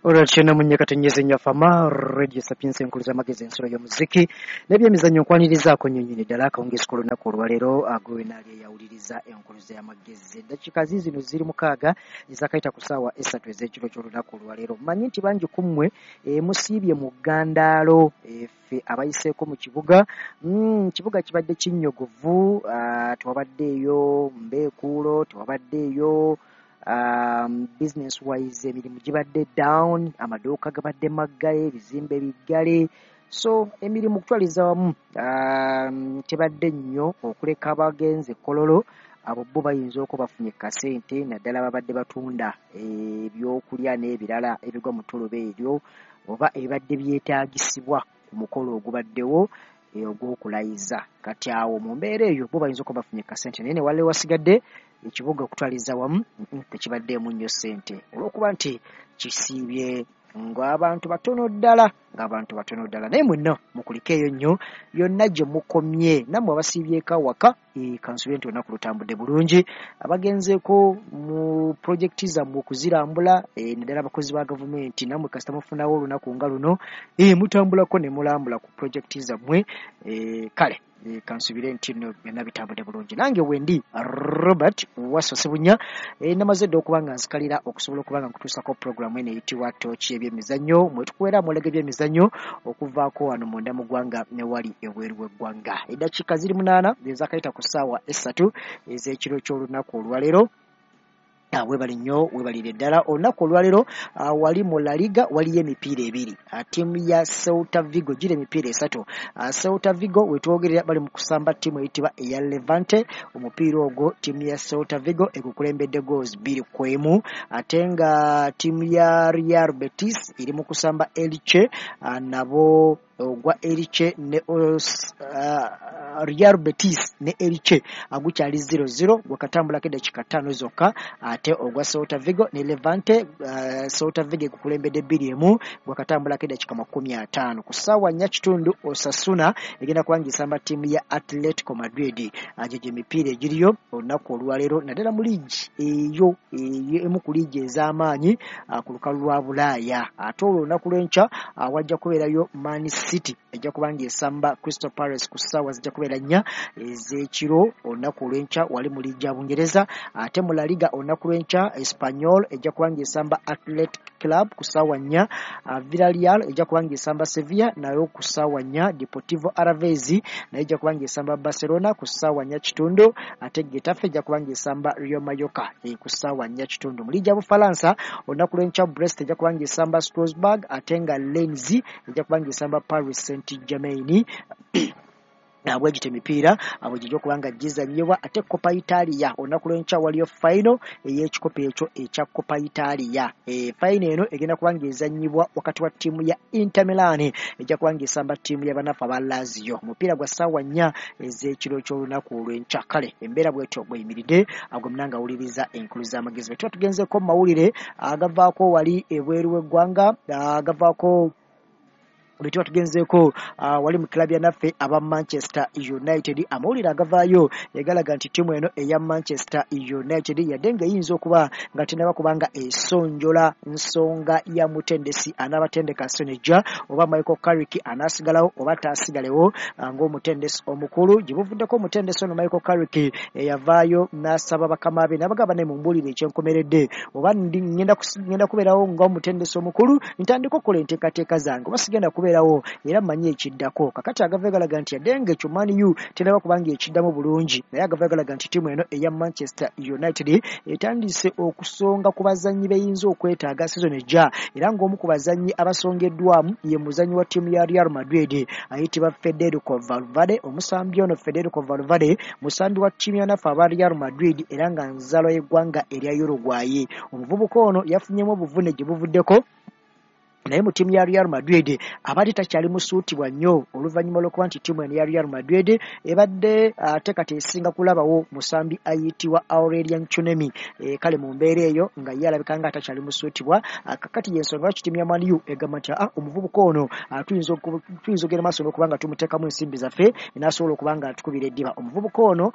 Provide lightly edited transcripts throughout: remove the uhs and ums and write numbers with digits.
Olwatyo munyekatonyeze nnyo Fama Radio Sapientia, enkulu z'amagezi, ensulo y'omuziki n'ebyemizannyo. Nkwanirizaako nnyo nnyini ddala akawungeezi k'olunaku olwaleero agwenaali eyawuliriza enkuluza y'amagezi. Eddakiika ziizino ziri 6 ezakayita ku ssaawa 3 ez'ekiro ky'olunaku olwaleero. Mmanyi nti bangi ku mmwe musiibye mu ggandaalo. Ffe abayiseeko mu kibuga, kibuga kibadde kinnyogovu, tewabaddeeyo mbeekuulo, tewabaddeeyo business wise, emirimu gibadde down, amaduuka gabadde maggale, ebizimbe biggale, so emirimu okutwaliza wamu tebadde nnyo, okuleka abagenze Kololo. Abo bo bayinza okuba bafunye kasente, naddala babadde batunda ebyokulya n'ebirala ebigwa mu ttuluba eryo oba ebibadde byetaagisibwa ku mukolo ogubaddewo ogw'okulayiza. Kati awo mu mbeera eyo bo bayinza okuba bafunye kasente, naye ne waliwo wasigadde ekibuga okutwaliza wamu tekibaddeemu nnyo ssente olw'okuba nti kisiibye ng'abantu batono ddala, ng'abantu batono ddala. Naye mwenna mukulikeeyo nnyo yonna gye mukomye. Nammwe abasiibyeko awaka, kansubire nti olunaku lutambudde bulungi. Abagenzeeko mu pulojekiti zammwe okuzirambula, naddala abakozi ba gavumenti, nammwe kasita mufunawo olunaku nga luno, mutambulako ne mulambula ku pulojekiti zammwe. Kale kansubire nti nno byonna bitambudde bulungi. Nange wendi Robert Wasso Ssebunya, namaze dda okuba nga nzikalira okusobola okuba nga nkutuusako puroguramu eno eyitibwa Tooki Ebyemizannyo, mwe tukuwera amawulire g'ebyemizannyo okuvaako wano munda mu ggwanga ne wali ebweru w'eggwanga. Eddakiika ziri 8 ezakayita ku ssaawa 3 ez'ekiro ky'olunaku olwaleero. Weebale nnyo, weebalire ddala. Olunaku olwaleero wali mu La Liga waliyo emipiira ebiri. Ttiimu ya Celta Vigo, gira emipiira esatu. Celta Vigo wetwogerera bali mu kusamba ttiimu eyitibwa eya Levante. Omupiira ogwo ttiimu ya Celta Vigo egukulembedde goals 2-1, ate nga ttiimu ya Real Betis eri mu kusamba Elche. Nabo ogwa Elche ne Real Betis ne Elche gukyali 0-0, gwakatambulako eddakiika 5 zokka. Ate ogwa Celta Vigo ne Levante, Celta Vigo egukulembedde 2-1, gwakatambulako eddakiika 50. Ku ssaawa 4:15 Osasuna egenda kuba ng'esamba ttiimu ya Atletico Madrid. Gye emipiira egiriyo olunaku olwaleero, naddala mu liigi eyo emu ku liigi ez'amaanyi ku lukalu lwa Bulaaya. Ate olwo olunaku lw'enkya wajja kubeerayo Man City ejja kuba ng'esamba Crystal Palace ku ssaawa zijja kubeera 4 ez'ekiro olunaku olw'enkya wali mu liigi ya Bungereza. Ate mu La Liga olunaku lw'enkya Espanyol ejja kuba ng'esamba Athletic Club ku ssaawa 4, Villarreal ejja kuba ng'esamba Sevilla nayo ku ssaawa 4, Deportivo Alaves nayo ejja kuba ng'esamba Barcelona ku ssaawa 4:15, ate Getafe ejja kuba ng'esamba Rayo Vallecano ku ssaawa 4:15. Mu liigi ya Bufalansa olunaku lw'enkya Brest ejja kuba ng'esamba Strasbourg, ate nga Lens ejja kuba ng'esamba Paris Saint Germain. Bwegityo emipiira bwe gijja okuba nga gizannyibwa. Ate Coppa Italia olunaku lw'enkya waliyo final ey'ekikopo ekyo ekya Coppa Italia. Final eno egenda kuba ng'ezannyibwa wakati wa ttiimu ya Inter Milan ejja kuba ng'esamba ttiimu y'abanafu aba Lazio. Omupiira gwa ssaawa 4 ez'ekiro ky'olunaku olw'enkya. Kale embeera bwetyo bweyimiridde. Agwe munanga awuliriza enkulu z'amagezi, bwe tuba tugenzeeko mu mawulire agavaako wali ebweru w'eggwanga, agavaako bwe tuba tugenzeeko wali mu club ya naffe aba Manchester United, amawulire agavaayo egalaga nti ttiimu eno eya Manchester United, yadde ng'eyinza okuba nga tenaba kubanga esonjola nsonga ya mutendesi anaabatendeka Sonejja, oba Michael Carrick anaasigalawo oba taasigalewo ng'omutendesi omukulu. Gye buvuddeko omutendesi ono Michael Carrick eyavaayo n'asaba bakama be n'abagamba, "Naye mumbuulire ekyenkomeredde, oba ngenda kubeerawo ng'omutendesi omukulu ntandika okukola enteekateeka zange, oba sigenda kubeerawo era mmanyi ekiddako." Kakati agava galaga nti yadde nga ekyo Man U tenaba kubanga ekiddamu bulungi, naye agava galaga nti ttiimu eno eya Manchester United etandise okusonga ku bazannyi beyinza okwetaaga season ejja, era ng'omu ku bazannyi abasongeddwamu ye muzannyi wa ttiimu ya Real Madrid ayitibwa Federico Valverde. Omusambi ono Federico Valverde musambi wa ttiimu ya naffe aba Real Madrid era nga nzaalwa y'eggwanga erya Uruguay. Omuvubuka ono yafunyemu obuvune gye buvuddeko. Naye mu ttiimu ya Real Madrid abadde takyali musuutibwa nnyo oluvannyuma lw'okuba nti ttiimu eno ya Real Madrid ebadde ate kati esinga kulabawo musambi ayitibwa Aurelien Tchouameni. Kale mu mbeera eyo nga ye alabika nga atakyali musuutibwa. Kakati y'ensonga lwaki ttiimu ya Man U egamba nti omuvubuka ono tuyinza okugenda maaso n'okuba nga tumuteekamu ensimbi zaffe n'asobola okuba nga atukubira eddiba. Omuvubuka ono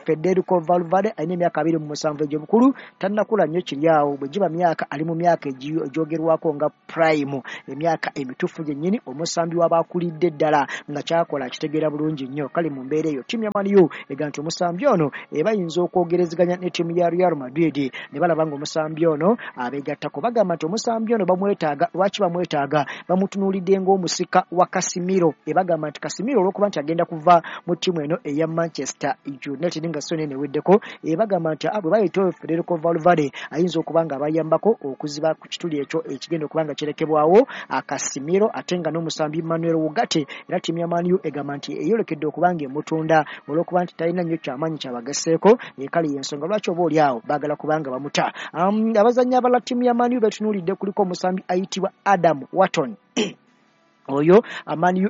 Federico Valverde alina emyaka 27 egy'obukulu, tannakula nnyo kiri awo, bwe giba myaka ali mu myaka egyogerwako nga prime, emyaka emituufu gyennyini, omusambi w'abakulidde ddala nga kyakola akitegeera bulungi nnyo. Kale mu mbeera eyo ttiimu ya Man U egamba nti omusambi ono bayinza okwogerezeganya ne ttiimu ya Real Madrid ne balaba nga omusambi ono abeegattako. Bagamba nti omusambi ono bamwetaaga. Lwaki bamwetaaga? Bamutunuulidde ng'omusika wa Casemiro. Bagamba nti Casemiro olw'okuba nti agenda kuva mu ttiimu eno eya Manchester United nga season eno eweddeko, bagamba nti bwe bayita Federico Valverde ayinza okuba nga abayambako okuziba ku kituli ekyo ekigenda okuba nga kirekebwawo Casemiro, ate nga n'omusambi Manuel Ugarte. Era ttiimu ya Man U egamba nti eyolekedde okuba nga emutunda olw'okuba nti talina nnyo kyamaanyi kyabagasseeko. Kale y'ensonga lwaki oba oli awo baagala kubanga bamuta. Abazannyi abalala ttiimu ya Man U betunuulidde kuliko omusambi ayitibwa Adam Wharton, oyo Man U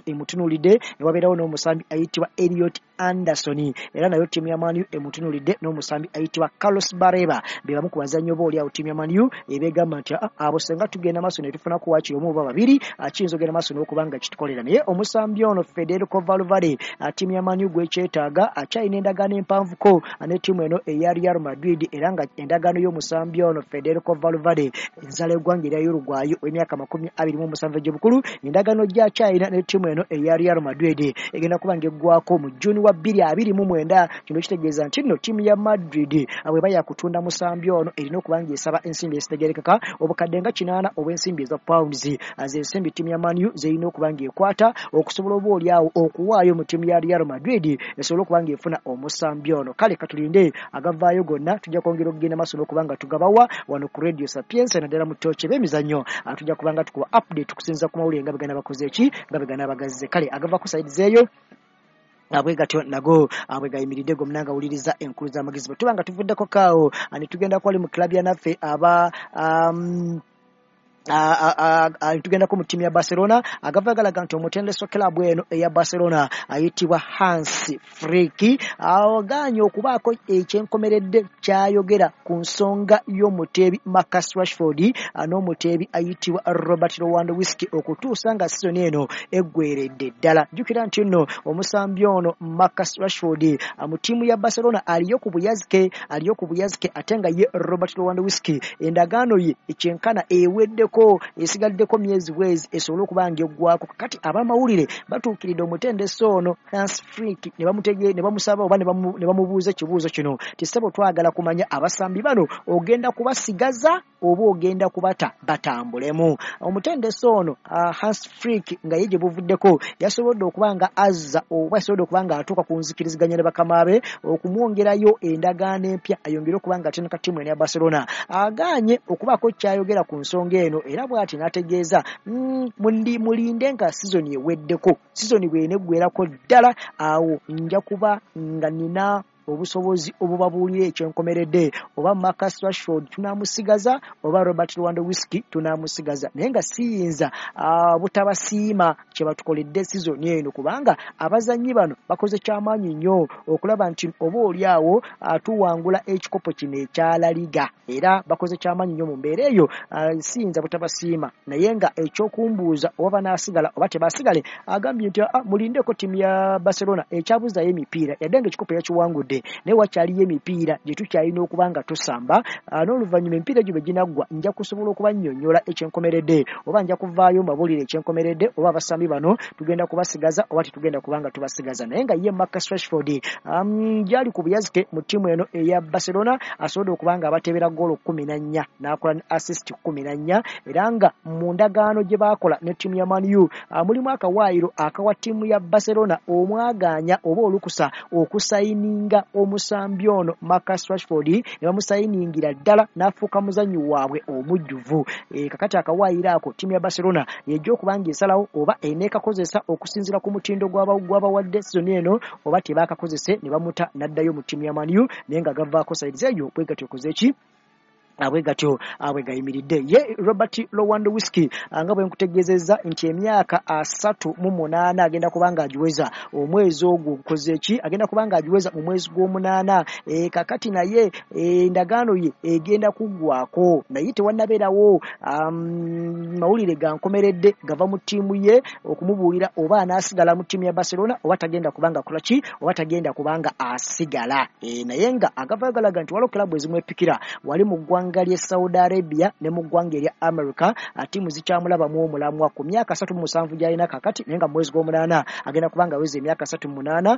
emutunuulidde, ne wabeerawo n'omusambi ayitibwa Elliot Anderson, era nayo ttiimu ya Man U emutunuulidde, n'omusambi ayitibwa Carlos Baleba. Be bamu ku bazannyi oba oli awo ttiimu ya Man U ebegamba nti abo senga tugenda maaso ne tufunako waakiri omu oba babiri, kiyinza ogenda maaso n'okuba nga kitukolera. Naye omusambi ono Federico Valverde ttiimu ya Man U gwekyetaaga, akyalina endagaano empanvuko ne ttiimu eno eya Real Madrid, era nga endagaano y'omusambi ono Federico Valverde, enzala y'eggwanga erya Uruguay ow'emyaka 27 egy'obukulu, endagaano gy'akyalina ne ttiimu eno eya Real Madrid egenda kuba ng'eggwako mu June wa 2029. Kino kitegeeza nti nno ttiimu ya Madrid bw'eba yakutunda musambi ono erina okuba ng'esaba ensimbi ezitegeerekeka obukadde nga 800 obw'ensimbi eza pounds, z'ensimbi ttiimu ya Man U z'erina okuba ng'ekwata okusobola oba oli awo okuwaayo mu ttiimu ya Real Madrid esobole okuba ng'efuna omusambi ono. Kale katulinde agavaayo gonna, tujja kwongera okugenda maaso n'okuba nga tugabawa wano ku Radio Sapientia, naddala mu ttooki b'emizannyo. Tujja kuba nga tukuwa update okusinziira ku mawulire nga begana bakoze eki nga begana bagazze. Kale agava ku side zeeyo bwe gatyo nago bwe gayimiridde gomna nga wuliriza enkulu z'amagezi. Bwe tuba nga tuvuddeko kaawo ne tugenda kwali mu club ya naffe aba tugendako mu ttiimu ya Barcelona, agava galaga nti omutendesi wa club eno eya Barcelona ayitibwa Hans Flick agaanye okubaako ekyenkomeredde kyayogera ku nsonga y'omuteebi Marcus Rashford n'omuteebi ayitibwa Robert Lewandowski okutuusa nga sizoni eno eggweredde ddala. Jjukira nti nno omusambi ono Marcus Rashford mu ttiimu ya Barcelona aliyo ku buyazike, ate nga ye Robert Lewandowski endagaano ye ekyenkana eweddeko, esigaddeko myezi bwezi esobole okuba nga eggwako. Kati abamawulire batuukiridde omutendesi ono Hans Flick ne bamusaba oba ne bamubuuza ekibuuzo kino nti ssebo twagala kumanya abasambi bano ogenda kubasigaza oba ogenda kubata batambulemu. Omutendesi ono Hans Flick nga ye gye buvuddeko yasobodde okuba nga azza oba yasobodde okuba nga atuuka ku nzikiriziganya ne bakama be okumwongerayo endagaano empya ayongere okuba nga atendeka ttiimu eno ya Barcelona. Agaanye okubaako kyayogera ku nsonga eno, era bw'ati n'ategeeza mulinde nga sizoni eweddeko, sizoni bw'eneggwerako ddala awo nja kuba nga nina obusobozi obubabuulira ekyenkomeredde oba Marcus Rashford tunaamusigaza oba Robert Lewandowski tunaamusigaza, naye nga siyinza butabasiima kye batukoledde sizoni eno, kubanga abazannyi bano bakoze kyamaanyi nnyo okulaba nti oba oli awo tuwangula ekikopo kino ekya La Liga, era bakoze kyamaanyi nnyo mu mbeera eyo, siyinza butabasiima. Naye nga ekyokumbuuza oba banaasigala oba tebasigale, agambye nti mulindeko ttiimu ya Barcelona ekyabuzaayo emipiira, yadde nga ekikopo yakiwangudde naye wakyaliyo emipiira gye tukyalina okuba nga tusamba, n'oluvannyuma emipiira egyo bwe ginaggwa nja kusobola okubannyonnyola ekyenkomeredde oba nja kuvaayo mbabuulire ekyenkomeredde oba abasambi bano tugenda kubasigaza oba tetugenda kuba nga tubasigaza. Naye nga ye Marcus Rashford gyali ku buyazike mu ttiimu eno eya Barcelona, asobodde okuba nga abateebera ggoolo 14 n'akola ne assist 14, era nga mu ndagaano gye baakola ne ttiimu ya Man U mulimu akawaayiro akawa ttiimu ya Barcelona omwagaanya oba olukusa okusayininga omusambi ono Marcus Rashford, ne bamusayiningira ddala n'afuuka muzannyi waabwe omujjuvu. Kakati akawaayiro ako ttiimu ya Barcelona yejja okuba ng'esalawo oba eneekakozesa okusinziira ku mutindo gw'abawadde sizoni eno oba tebaakakozese ne bamuta n'addayo mu ttiimu ya Man U, naye nga gavaako side eyo bwe gatyo okoze ki Bwe gatyo bwe gayimiridde. Ye Robert Lewandowski, nga bwe nkutegeezezza nti emyaka 38 agenda kuba nga agiweza omwezi ogwo gukoze ki, agenda kuba nga agiweza mu mwezi gw'omunaana. Kakati naye endagaano ye egenda kuggwako, naye tewannabeerawo mawulire gankomeredde gava mu ttiimu ye okumubuulira oba anaasigala mu ttiimu ya Barcelona oba tagenda kubanga akola ki, oba tagenda kubanga asigala. Naye nga agavayo galaga nti waliwo club ezimwepikira wali mu ggwanga ly'e Saudi Arabia ne mu ggwanga erya America. Ttiimu zikyamulabamu omulamwa ku myaka 37 gy'alina kakati, naye nga mu mwezi gw'omunaana agenda kubanga aweza emyaka 38.